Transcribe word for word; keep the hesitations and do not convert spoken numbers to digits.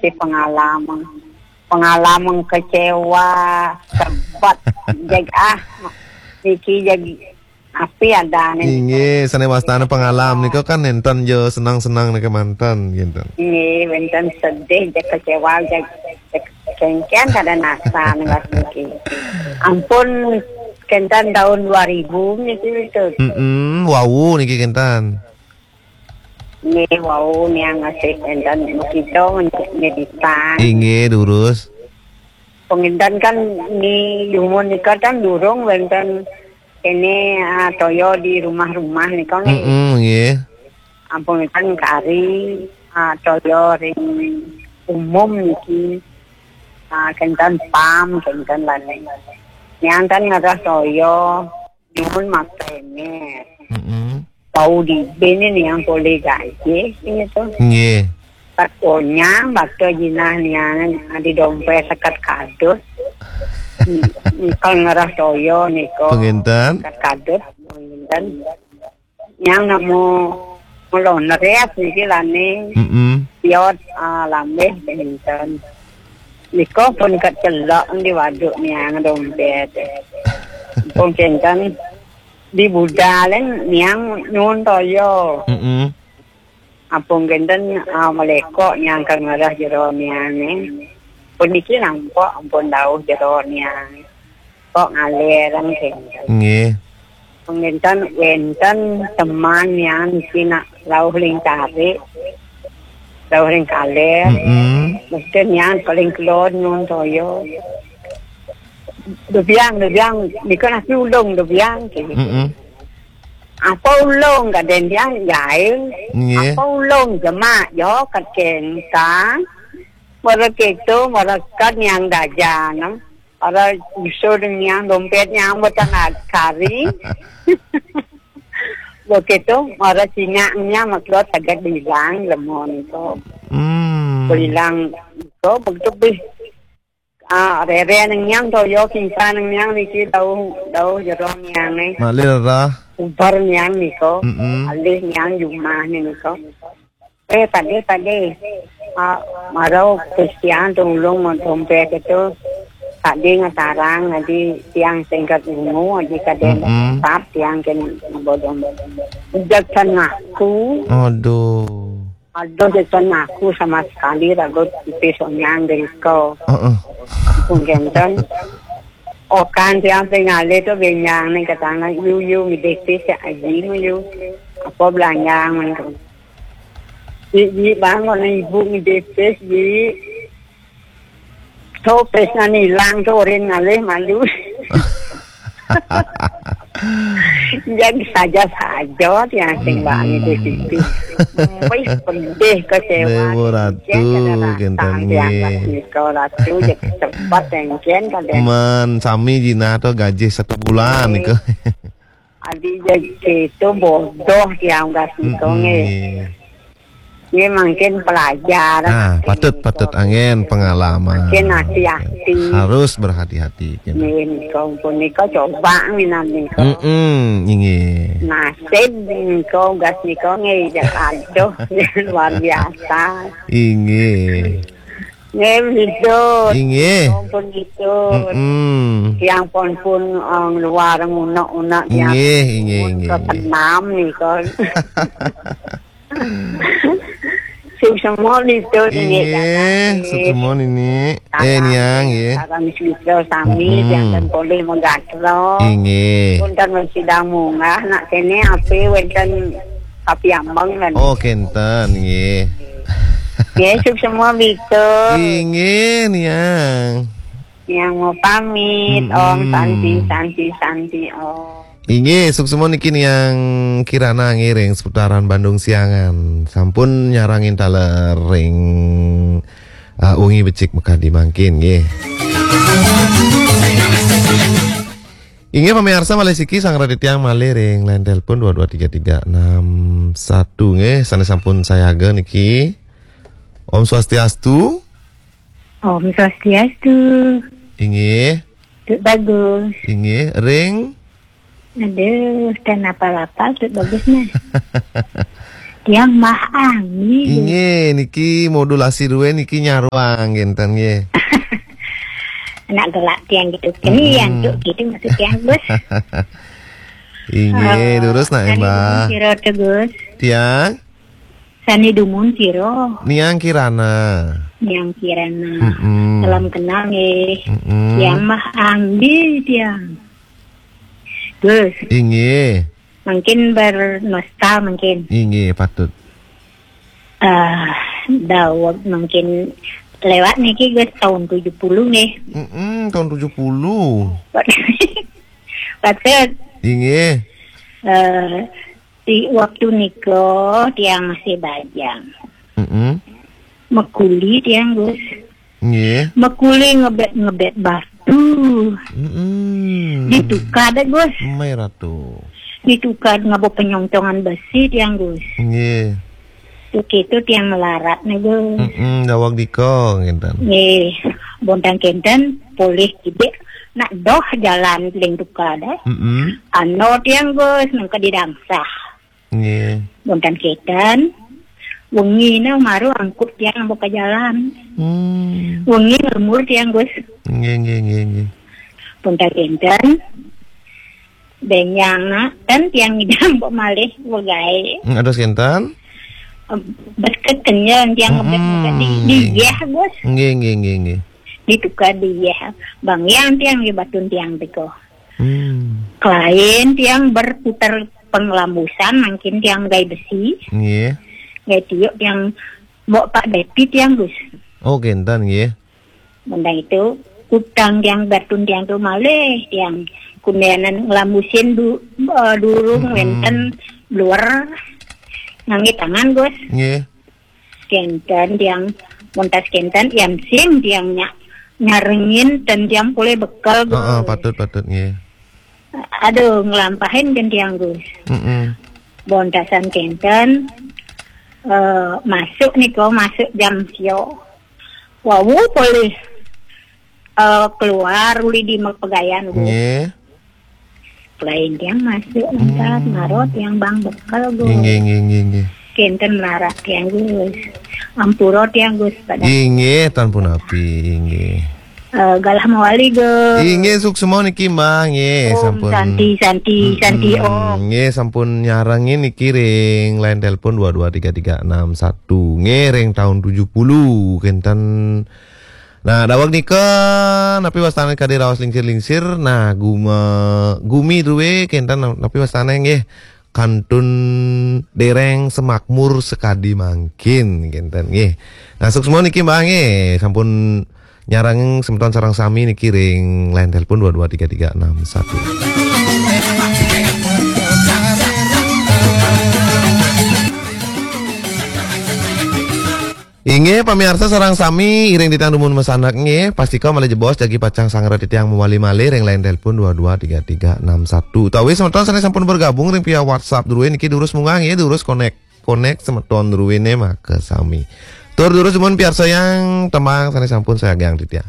Niki pengalaman. Pengalaman kecewa, sebet, jeg ah. Niki jeg api adané. Inggih, sané wastana pengalaman nika kan nénten ja senang-senang nika manten, kinten. Nggih, wénten sedih, jeg kecewa, jeg, jeg kéngkén kada nasa nih Mas niki. Ampun, kénten tahun dua ribu niki itu. Mm-mm, wau niki kinten. Nggih, wau niang ngasih enten makita ngedik meditan. Inggih, durus. Penginten kan ni dumun nika kan durung wénten kene, ah, toya di rumah-rumah nika nggih. Mm-mm, nggih. Ampun kan kari, ah, toya ring umum niki. Ah, kenten pam, kenten lain. Niang kan ngerah toya. Nyuwun maktener. Mm-mm. Bau di bene niang polih gajih, gitu. Nggih. Kat onyang, bakta jinah niang di dompet sekat kadut. Nyekel ngerah toya nika. Penginten. Sekat kadut, penginten. Niang nemu melon res niki lane. Mm-mm. Piot, ah, lambih penginten. Nika pun kecelok di waduk niang dompet. Pun kenten di budalen niang nyuwun toya. Mm-mm. Apung kenten, ah, melekok niang ke ngerah jero niange. Puniki nampak ampun dauh jero niang. Kok ngalereng kenten. Nggih. Penginten wenten teman niang niki nak lauh ling tarik. Lauh ring kaler. Mm-mm. Mesti niang paling kelon nyuwun toya. Debiang, debiang, nika nasi ulung debiang, gitu. Mm-mm. Apa ulung kaden dia jahil? Nggih. Apa ulung jemak jo kat kentang? Mara keto, mara kad niang dajan. Mara iso niang dompet niang botan kari. Begitu, mara singak niang maklot agak bilang lemon tu. Hmm. Bilang tu begitu bih. Ah, rere nang niang toya kingsa nang niang niki dauh, dauh jero niang ni. Malih rerah. Ubar niang nika. Mm-mm. Alih niang jumah ni nika. Eh, pade, pade. Ah, marau Kristian tulung mau dompet itu. Pade ngatarang adi tiang singkat ungu adi kaden. Mm-mm. Tap tiang ken bodong. Ujak ngaku. Aduh. Aduh, desan aku sama sekali ragut tipis onyang deriko. Heeh. Pun kenten. Okan tiang tinggal itu benyang nih katanya, "Yu, yu, midepis ya aji mu, yu." Apa belanjang, man, tu. "Ji, ji, bang, kau ibu midepis, ji." Tu pes nani ilang tu orin ngalih malu. Jadi saja-saja tiang sing bani di situ. Wih, pedih kecewa. Dewa Ratu, kenten nggih. Nika Ratu, jadi cepat engken kadang. Man, sami jinah tu gajih satu bulan nika. Adi jadi itu bodoh tiang gas nika nggih. Nggih, mungkin pelajaran. Ah, patut, patut angin pengalaman. Mungkin hati-hati. Harus berhati-hati, gitu. Nggih, nika pun nika coba minan nika. Mm-mm, inggih. Nasib nika gas nika nggih, aduh, luar biasa. Inggih. Nggih, begitu. Inggih. Pun gitu. Mm-mm. Tiang pun pun, eh, luar ngunak-unak tiang. Inggih, inggih, inggih. Kesenam nika. Sing semua itu, inggih, sing semua nini. Eh, niang, nggih. Sareng sami, mm-mm, jangan boleh menggatro. Inggih. Pun kan masih dah munggah, nak kene ape wenten tapi ambang kan. Oh, kenten, nggih. Nggih, sing semua itu. Inggih, niang. Niang mau pamit, mm-mm. Om Santi, Santi, Santi, Om. Inggih, suksma niki niang Kirana ngiring seputaran Bandung Siangan. Sampun nyarangin taler ring, uh, wengi becik makadi mangkin, nggih. Inggih, pamiarsa malih siki sang Raditya malih ring line telepon dua dua tiga tiga enam satu, nggih, sané sampun sayaga niki. Om Swastiastu. Om Swastiastu. Inggih. Tut Bagus. Inggih, ring. Aduh, ten apa-apa, Tut Bagus nah. Tiang mah angin. Inggih, niki modulasi duwe niki nyaruang kinten nggih. Anak gelak tiang gitu. Ini yang tuh gitu maksud tiang, Gus. Inggih, durus nak, Mbah. Sira tuh, Gus. Tiang? Sani dumun sira. Niang Kirana. Niang Kirana. Mm-mm. Salam kenal nggih. Mm-mm. Tiang mah anggi tiang. Gus. Inggih. Mungkin bernostal mungkin. Inggih, patut. Eh, daweg mungkin lewat niki, Gus, tahun tujuh puluh nggih. Mm-mm, tahun tujuh puluh. Patut. Inggih. Eh, di waktu nika tiang masih bajang. Mm-mm. Mekuli tiang, Gus. Nggih. Mekuli ngebet-ngebet batu. Mm-mm. Ditukar deh, Gus. Mai Ratu. Ditukar ngabo penyongcongan besi tiang, Gus. Nggih. Tuh gitu tiang melarat nih, Gus. Mm-mm, daweg dika kinten. Nggih. Bontang kinten polih kidik nak doh jalan ling tukar deh. Mm-mm. Ano tiang, Gus, nang ka didangsah. Nggih. Bontang kinten wengi na maru angkut tiang ambo ka jalan. Hmm. Wengi ngelumur tiang, Gus. Nggih, nggih, nggih, nggih. Bontang kinten benyang na ten tiang ngidam ambo malih begae. Hmm, ados kinten? Bes kekenyang tiang ngebet-ngebet di, di yeh, Gus. Nggih, nggih, nggih, nggih. Ditukar di yeh. Bang yang tiang di batun tiang tiko. Hmm. Kelain tiang berputar penglambusan, mungkin tiang gai besi. Nggih. Gai tiuk tiang bawa Pak Depi tiang, Gus. Oh, kinten nggih. Mendang itu utang tiang batun tiang tu malih tiang kundanan ngelambusin du, eh, durung wenten luar ngangge tangan, Gus. Nggih. Kenten tiang, montas kenten, iam sim tiang nyak nyarengin ten tiang pule bekel, Gus. Heeh, patut, patut, nggih. Aduh, ngelampahin kan tiang, Gus. Mm-mm. Bontasan kenten, eh, masuk niko, masuk jam sio. Wawu pule, eh, keluar uli di pegayan, Gus. Nggih. Lain tiang masuk entar, hmm, marot tiang bang bekel, Gus. Inggih, inggih, inggih, inggih. Kenten melarat tiang, Gus. Ampura tiang, Gus, pada. Inggih, tan punapi, inggih. Eh, galah mawali, Gus. Inggih, suksma niki, Mbah, nggih, Om sampun. Santi, Santi, mm-mm, Santi, Om. Nggih, sampun nyarengin niki ring line telepon dua dua tiga tiga enam satu. Nggih, ring tahun tujuh puluh, kenten. Nah, daweg nika, napi wastane kadi raos lingsir-lingsir. Nah, guma, gumi druwe kenten, napi wastane nggih, kantun dereng semakmur sekadi mangkin kenten nggih. Nah, suksma niki, Mbah, nggih, sampun nyarang semeton sareng sami niki ring line telepon dua dua tiga tiga enam satu. Inggih, pamiarsa sareng sami, iring titiang dumun masanak nggih, pastika malih jebos jagi pacang sanggra titiang mawali malih ring line telepon dua dua tiga tiga enam satu. Utawi semeton sane sampun bergabung ring via WhatsApp druwe niki durus munggah nggih, durus konek, konek semeton druwene makasami. Tur durus dumun piarsayang tembang sane sampun sayagiang titiang.